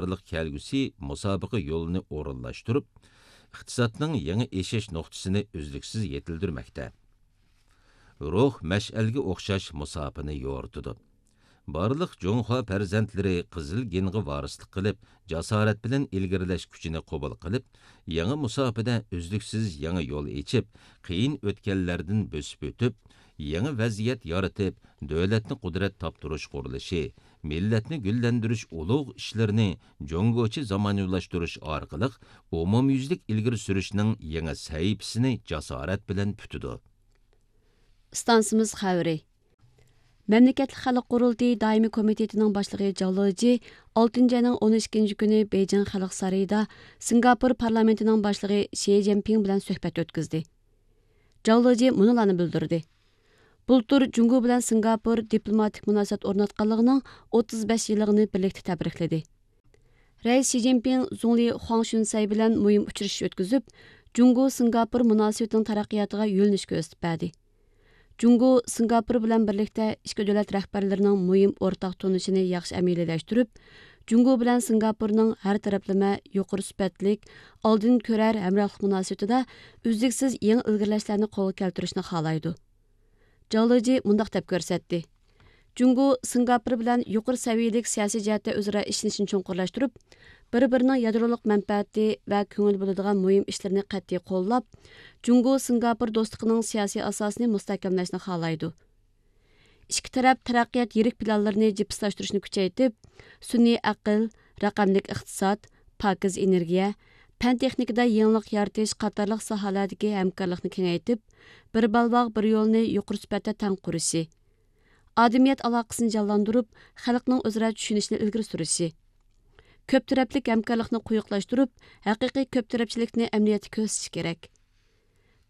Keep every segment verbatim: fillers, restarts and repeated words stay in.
ئارىلىق كەلگۈسى مۇسابىقە يولىنى ئورۇنلاشتۇرۇپ، ئىقتىسادنىڭ يېڭى ئېشىش نۇقتىسىنى ئۈزلۈكسىز يېتىلدۈرمەكتە. روھ مەشئەلگە ئوخشاش مۇساپىنى يورۇتىدۇ. بارلىق جۇڭخۇا پەرزەنتلىرى قىزىل گېنغا ۋارىسلىق قىلىپ، جاسارەت بىلەن ئىلگىرىلەش كۈچىنى قوبۇل قىلىپ، يېڭى مۇساپىدە ئۈزلۈكسىز يېڭى يول ئېچىپ، قىيىن ئۆتكەللەردىن بۆسۈپ ئۆتۈپ، يېڭى ۋەزىيەت يارىتىپ، دۆلەتنى قۇدرەت تاپتۇرۇش قۇرۇلۇشى، مىللەتنى گۈللەندۈرۈش ئۇلۇغ ئىشلىرىنى جۇڭگوچە زامانىۋىلاشتۇرۇش ئارقىلىق ئومۇميۈزلۈك ئىلگىرى سۈرۈشنىڭ يېڭى سەھىپىسىنى جاسارەت بىلەن پۈتىدۇ. ئىستانسىمىز خەۋىرى. مەملىكەتلىك خەلق قۇرۇلتىيى دائىمىي كومىتېتىنىڭ باشلىقى جاۋ لېجى ئالتىنچى ئاينىڭ ئون ئىككىنچى كۈنى بېيجىڭ خەلق سارىيىدا سىنگاپور پارلامېنتىنىڭ باشلىقى شى جىنپىڭ بىلەن سۆھبەت ئۆتكۈزدى. جاۋ لېجى مۇنۇلارنى بىلدۈردى. بۇلتۇر جۇڭگو بىلەن سىنگاپور دىپلوماتىك مۇناسىۋەت ئورناتقانلىقىنىڭ ئوتتۇز بەش يىللىقىنى بىرلىكتە تەبرىكلىدى. رەئىس شى جىنپىڭ زۇڭلى خۇاڭ شۈنسەي بىلەن مۇھىم ئۇچرىشىش ئۆتكۈزۈپ، جۇڭگو سىنگاپور مۇناسىۋىتىنىڭ تەرەققىياتىغا يۆنىلىش كۆرسىتىپ بەردى. جۇڭگو سىنگاپور بىلەن بىرلىكتە ئىككى دۆلەت رەھبەرلىرىنىڭ مۇھىم ئورتاق تونۇشىنى ياخشى ئەمەلىيلەشتۈرۈپ، جۇڭگو بىلەن سىنگاپورنىڭ ھەر تەرەپلىمە يۇقىرى سۈپەتلىك، ئالدىن كۆرەر ھەمراھلىق مۇناسىۋىتىدە ئۈزلۈكسىز يېڭى ئىلگىرىلەشلەرنى قولغا كەلتۈرۈشنى خالايدۇ. جاۋ لېجى مۇنداق دەپ كۆرسەتتى: جۇڭگو سىنگاپور بىلەن يۇقىرى سەۋىيەلىك سىياسىي جەھەتتە ئۆزئارا ئىشىنىشنى چوڭقۇرلاشتۇرۇپ، بىر-بىرىنىڭ يادرولۇق مەنپەئەتى ۋە كۆڭۈل بۆلىدىغان مۇھىم ئىشلىرىنى قەتئىي قوللاپ، جۇڭگو سىنگاپور دوستلۇقىنىڭ سىياسىي ئاساسىنى مۇستەھكەملەشنى خالايدۇ. ئىككى تەرەپ تەرەققىيات يىرىك پىلانلىرىنى جىپسىلاشتۇرۇشنى كۈچەيتىپ، سۈنئىي ئەقىل، رەقەملىك ئىقتىساد، پاكىز ئېنېرگىيە، پەن تېخنىكىدا يېڭىلىق يارىتىش قاتارلىق ساھەلەردىكى ھەمكارلىقنى كېڭەيتىپ، بىر بەلباغ، بىر يولنى يۇقىرى سۈپەتتە تەڭ قۇرۇشى، ئادەمىيەت ئالاقىسىنى جانلاندۇرۇپ، خەلقنىڭ ئۆزئارا چۈشىنىشىنى ئىلگىرى سۈرۈشى، كۆپ تەرەپلىك ھەمكارلىقنى قويۇقلاشتۇرۇپ، ھەقىقىي كۆپ تەرەپچىلىكنى ئەمەلىيەتتە كۆرسىتىشى كېرەك.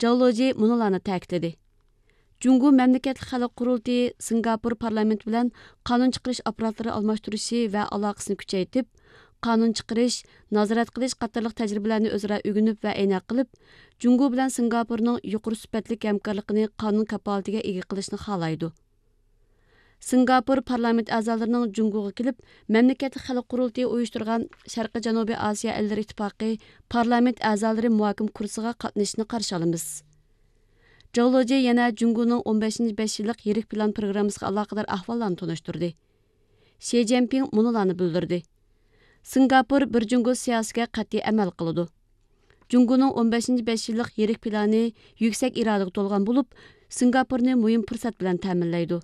جاۋ لېجى مۇنۇلارنى تەكىتلىدى: جۇڭگو مەملىكەتلىك خەلق قۇرۇلتىيى سىنگاپور پارلامېنتى بىلەن قانۇن چىقىرىش ئاپپاراتلىرى ئالماشتۇرۇشى ۋە ئالاقىسىنى كۈچەيتىپ، قانۇن چىقىرىش، نازارەت قىلىش قاتارلىق تەجرىبىلەرنى ئۆزئارا ئۆگىنىپ ۋە ئەينەك قىلىپ، جۇڭگو بىلەن سىنگاپورنىڭ يۇقىرى سۈپەتلىك ھەمكارلىقىنى قانۇن كاپالىتىگە ئىگە قىلىشنى خالايدۇ. سىنگاپور پارلامېنت ئەزالىرىنىڭ جۇڭگوغا كېلىپ، مەملىكەتلىك خەلق قۇرۇلتىيى ئۇيۇشتۇرغان شەرقىي جەنۇبىي ئاسىيا ئەللىرى ئىتتىپاقى پارلامېنت ئەزالىرى مۇھاكىمە كۇرسىغا قاتنىشىشىنى قارشى ئالىمىز. جاۋ لېجى يەنە جۇڭگونىڭ ئون بەشىنچى بەش يىللىق يىرىك پىلان پروگراممىسىغا ئالاقىدار ئەھۋاللارنى تونۇشتۇردى. شى جىنپىڭ مۇنۇلارنى بىلدۈردى: سىنگاپور بىر جۇڭگو سىياسىتىگە قەتئىي ئەمەل قىلىدۇ. جۇڭگونىڭ ئون بەشىنچى بەش يىللىق يىرىك پىلانى يۈكسەك ئىرادىگە تولغان بولۇپ، سىنگاپورنى مۇھىم پۇرسەت بىلەن تەمىنلەيدۇ.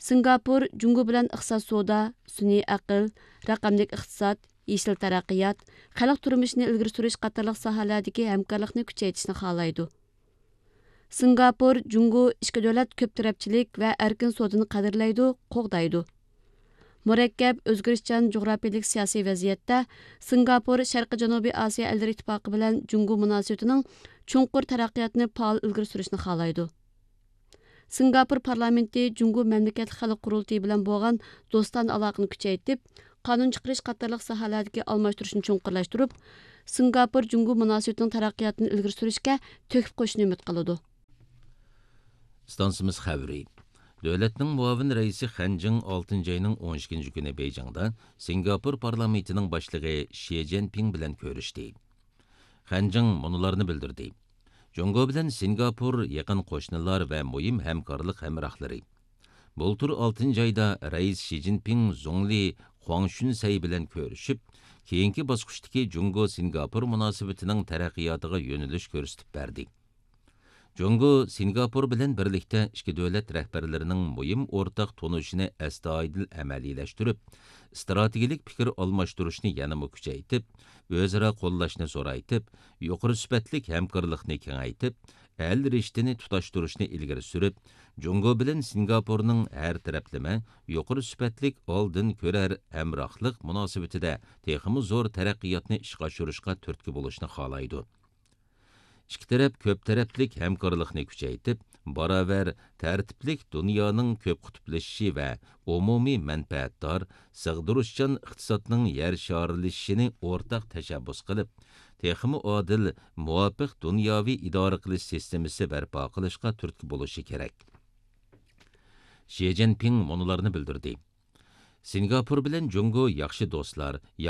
سىنگاپور جۇڭگو بىلەن ئىقتىساد، سودا، سۈنئىي ئەقىل، رەقەملىك ئىقتىساد، يېشىل تەرەققىيات، خەلق تۇرمۇشىنى ئىلگىرى سۈرۈش قاتارلىق ساھەلەردىكى ھەمكارلىقنى كۈچەيتىشنى خالايدۇ. سىنگاپور جۇڭگو ئىككى دۆلەت كۆپ تەرەپچىلىك ۋە ئەركىن سودىنى قەدىرلەيدۇ، قوغدايدۇ. مۇرەككەپ، ئۆزگىرىشچان جۇغراپىيەلىك سىياسىي ۋەزىيەتتە سىنگاپور شەرقىي جەنۇبىي ئاسىيا ئەللىرى ئىتتىپاقى بىلەن جۇڭگو مۇناسىۋىتىنىڭ چوڭقۇر تەرەققىياتىنى پائال ئىلگىرى سۈرۈشنى خالايدۇ. سىنگاپور پارلامېنتى جۇڭگو مەملىكەتلىك خەلق قۇرۇلتىيى بىلەن بولغان دوستانە ئالاقىنى كۈچەيتىپ، قانۇن چىقىرىش قاتارلىق ساھەلەردىكى ئالماشتۇرۇشنى چوڭقۇرلاشتۇرۇپ، سىنگاپور جۇڭگو مۇناسىۋىتىنىڭ تەرەققىياتىنى ئىلگىرى سۈرۈشكە تۆھپە قوشۇشنى ئۈمىد قىلىدۇ. ئىستانسىمىز خەۋىرى. دۆلەتنىڭ مۇئاۋىن رەئىسى خەن جىڭ ئالتىنچى ئاينىڭ ئون ئىككىنچى كۈنى بېيجىڭدا سىنگاپور پارلامېنتىنىڭ باشلىقى شى جىنپىڭ بىلەن كۆرۈشتى. خەن جىڭ مۇنۇلارنى بىلدۈردى: جۇڭگو بىلەن سىنگاپور يېقىن قوشنىلار ۋە مۇھىم ھەمكارلىق ھەمراھلىرى. بۇلتۇر ئالتىنچى ئايدا رەئىس شى جىنپىڭ زۇڭلى خۇاڭ شۈنسەي بىلەن كۆرۈشۈپ، كېيىنكى باسقۇچتىكى جۇڭگو سىنگاپور مۇناسىۋىتىنىڭ تەرەققىياتىغا يۆنىلىش كۆرسىتىپ بەردى. جۇڭگو سىنگاپور بىلەن بىرلىكتە ئىككى دۆلەت رەھبەرلىرىنىڭ مۇھىم ئورتاق تونۇشىنى ئەستايىدىل ئەمەلىيلەشتۈرۈپ، ئىستراتېگىيەلىك پىكىر ئالماشتۇرۇشنى يەنىمۇ كۈچەيتىپ، ئۆزئارا قوللاشنى زورايتىپ، يۇقىرى سۈپەتلىك ھەمكارلىقنى كېڭەيتىپ، ئەل رىشتىنى تۇتاشتۇرۇشنى ئىلگىرى سۈرۈپ، جۇڭگو بىلەن سىنگاپورنىڭ ھەر تەرەپلىمە يۇقىرى سۈپەتلىك ئالدىن كۆرەر ھەمراھلىق مۇناسىۋىتىدە تېخىمۇ زور تەرەققىياتنى ئىشقا ئاشۇرۇشقا تۈرتكە بولۇشنى خالايدۇ. ئىككى تەرەپ كۆپ تەرەپلىك ھەمكارلىقنى كۈچەيتىپ، باراۋەر، تەرتىپلىك دۇنيانىڭ كۆپ قۇتۇپلىشىشى ۋە ئومۇمىي مەنپەئەتدار، سىغدۇرۇشچان ئىقتىسادنىڭ يەر شارىلىشىشىنى ئورتاق تەشەببۇس قىلىپ، تېخىمۇ ئادىل، مۇۋاپىق دۇنياۋى ئىدارە قىلىش سىستېمىسى بەرپا قىلىشقا تۈرتكە بولۇشى كېرەك. شى جىنپىڭ مۇنۇلارنى بىلدۈردى: سىنگاپور بىلەن جۇڭگو ياخشى دوستلار،